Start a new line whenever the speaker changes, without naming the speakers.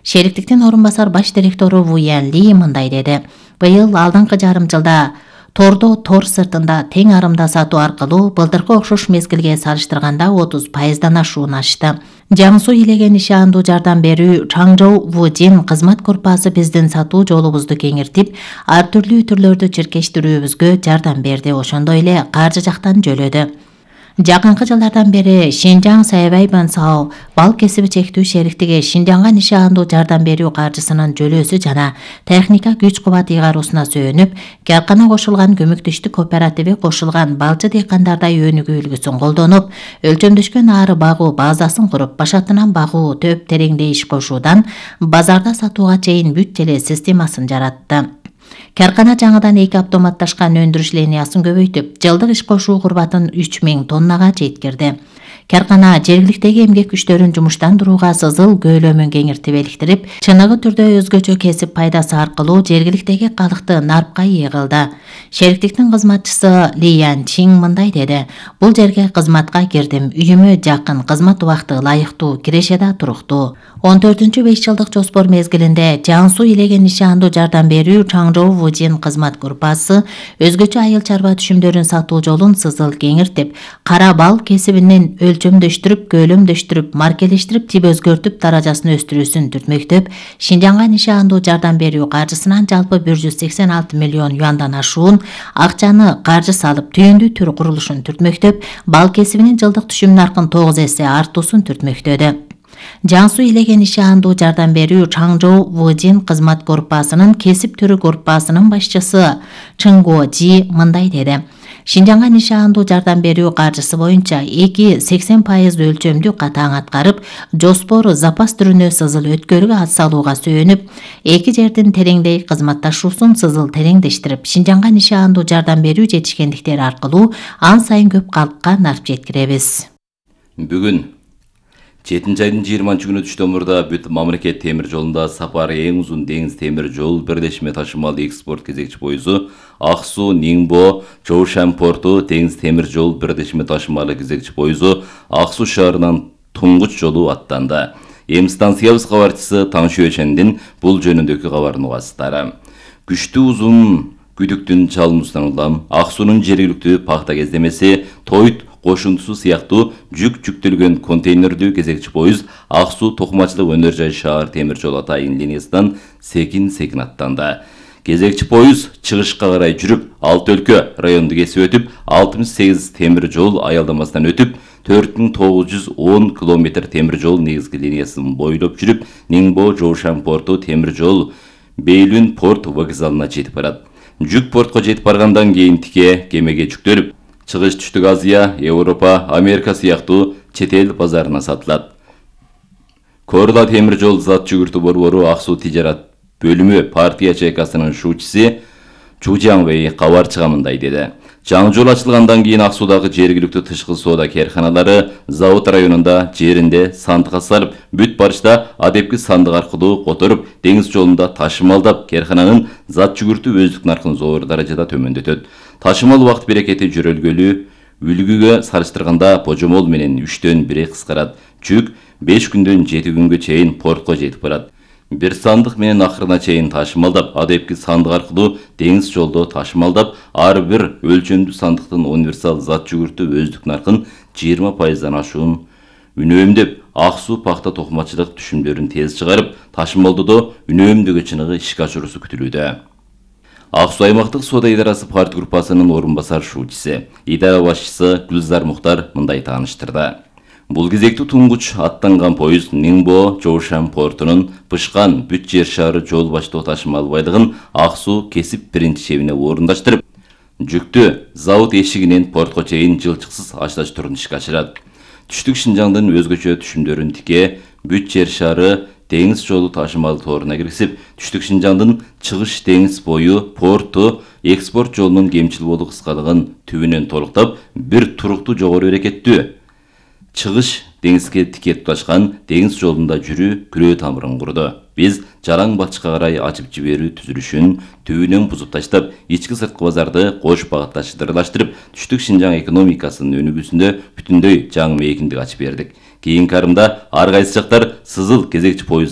Шериктиктин орун басар баш директору Ву Ян Ли мындай деди. Быйыл алдыңкы жарым жылда тордо тор сыртында тең арымда сатуу аркылуу былтыркы окшош мезгилге салыштырганда 30% ашуун ашты. Жаңсу илеген иши андуу жардам берүү Чаңжоу Вужин кызмат группасы биздин сатуу жолубузду кеңиртип, ар түрлүү түрлөрдү чиркештирүүбүзгө жардам берди, ошондой эле каржы жактан жөлөдү. Жакынкы жылдардан бери Шинжаң Сайбай Бансао бал кесиби чектүү шериктиги Шинжаңга нишаандуу жардам берүү каржысынын жөлөөсү жана техника күч кубат ыйгаруусуна сөөнүп, Каркана кошулган көмөктөштүк кооперативи кошулган балчы дыйкандардай өнүгүү үлгүсүн колдонуп, өлчөмдөшкөн ары багуу базасын куруп, башатынан багуу төп тереңде иш кошуудан базарда сатууга чейин бүт эле системасын жаратты. Каркана жаңыдан 2 автоматташкан өндүрүш линиясын көбөйтүп, жылдык иш кошуу курбатын 3000 тоннага жеткирди. Каркана жергиликтеги эмгек күчтөрүн жумуштандырууга сызыл көйлөмүн кеңиртип эликтирип, чыныгы түрдө өзгөчө кесип пайдасы аркылуу жергиликтеги калыкты нарпка ие кылды. Шериктиктин кызматчысы Ли Ян Чин мындай деди. Бул жерге кызматка кирдим, үйүмө жакын, кызмат убакыты ылайыктуу, киреше да туруктуу. 14-5 жылдык жоспор мезгилинде Жаңсу илеген нишаандуу жардам берүү Чаңжоу Вужин кызмат группасы өзгөчө айыл чарба түшүмдөрүн сатуу жолун сызыл кеңиртип, кара бал кесибинин өлчөмдөштүрүп, көйлөмдөштүрүп, маркелештирип, тип өзгөртүп, даражасын өстүрүүсүн түртмөктөп, Шинжаңга нишаандуу жардам берүү каржысынан жалпы 186 миллион юандан ашуун акчаны каржы салып, түйүндүү түр курулушун түртмөктөп, бал кесибинин жылдык түшүм наркын 9 эсе артуусун түртмөктөдү. Жаңсу илеген нишаандуу жардам берүү Чаңжоу Вужин кызмат группасынын кесип түрү группасынын башчысы Чыңго Жи мындай деди. Шинжаңга нишаандуу жардам берүү каржысы боюнча 80% өлчөмдү катаң аткарып, жоспор запас түрүнө сызыл өткөрүүгө ат салууга сөөнүп, эки жердин тереңдей кызматташуусун сызыл тереңдештирип, Шинжаңга нишаандуу жардам берүү жетишкендиктери аркылуу ан сайын көп калкка нарп жеткиребиз.
Бүгүн 7-айдын 20 күнү Түштөмүрдө бүт мамлекет темир жолунда сапары эң узун деңиз темир жол бирлешме ташымал экспорт кезекчи пойузу Аксу Ниңбо Жоушан порту деңиз темир жол бирлешме ташымалы кезекчи пойузу Аксу шаарынан туңгуч жолу аттанды. Эми станциябыз кабарчысы Таңшө Өчендин бул жөнүндөгү кабарын угасыздар. Күчтүү узун күдүктүн чалымынан улам Аксунун жергиликтүү пахта кездемеси Тойт кошунтусу сыяктуу жүктөлгөн контейнердүү кезекчи поезд Аксу Токмачылык өнөр жай шаар темир жол атайын линиясынан секин аттанды. Кезекчи поезд чыгышка карай жүрүп, Алты өлкө районду кесип өтүп, 68 темир жол аялдамасынан өтүп, 4910 километр темир жол негизги линиясын бойлоп жүрүп, Ниңбо Жоушан порту темир жол Бейлүн порт вокзалына жетип барат. Жүк портко жетип баргандан кийин тике кемеге жүктөлүп, Чыгыш Түштүк Азия, Европа, Америка сыяктуу чет эл базарына сатылат. Корла темир жол зат жүгүртүү борбору Аксу тижарат бөлүмү партия ячейкасынын шуучусы Чу Жаңвей кабарчыга мындай деди. Жаңы жол ачылгандан кийин Аксудагы жергиликтүү тышкы соода керканалары завод районунда жеринде сандыкка салып, бүт барышта адепки сандык аркылуу которуп, деңиз жолунда ташымалдап, керкананын зат жүгүртүү өздүк наркын зор даражада төмөндөтөт. Ташымал убакыт берекети жөрөлгөлүү үлгүгө салыштырганда божомол менен 3-төн 1 кыскарат. Жүк 5 күндөн 7 күнгө чейин портко жетип барат. Бир сандык менен акырына чейин ташымалдап, адепки сандык аркылуу деңиз жолдо ташымалдап, ар бир өлчөмдүү сандыктын универсал зат жүгүртүү өздүк наркын 20% ашуун үнөмдөп, Аксу пахта токмачылык түшүмдөрүн тез чыгарып, ташымалдоодо үнөмдөгө чыныгы ишке ашыруусу күтүлүүдө. Аксу аймактык соода идарасы парт группасынын орун басар шуучусы, идара башчысы Гүлзар Мухтар мындай тааныштырды. Бул кезектүү туңгуч аттанган поезд Ниңбо Жоушан портунун Пышкан бүт жер шаары жол баштоо ташымал байлыгын Аксу кесип биринчи чебине орундаштырып, жүктү завод эшигинен портко чейин жылчыксыз ачылаштырууну ишке ашырат. Түштүк Шинжаңдын өзгөчө түшүмдөрүн тике бүт жер шаары деңиз жолу ташымал торуна киргизип, Түштүк Шинжаңдын чыгыш деңиз бою порту экспорт жолунун кемчил болуу кыскалыгын түбүнөн толуктап, бир туруктуу жогору берекеттүү чыгыш деңизге тике туташкан деңиз жолунда жүрүү күрөө тамырын курду. Биз Жараң Батышка карай ачып жиберүү түзүлүшүн түбүнөн бузуп таштап, ички сырткы базарды кош багытташтырылаштырып, Түштүк Шинжаң экономикасынын өнүгүүсүндө бүтүндөй жаңы мейкиндик ачып бердик. Кийинки арымда ар кайсы жактар сызыл кезекчи поезд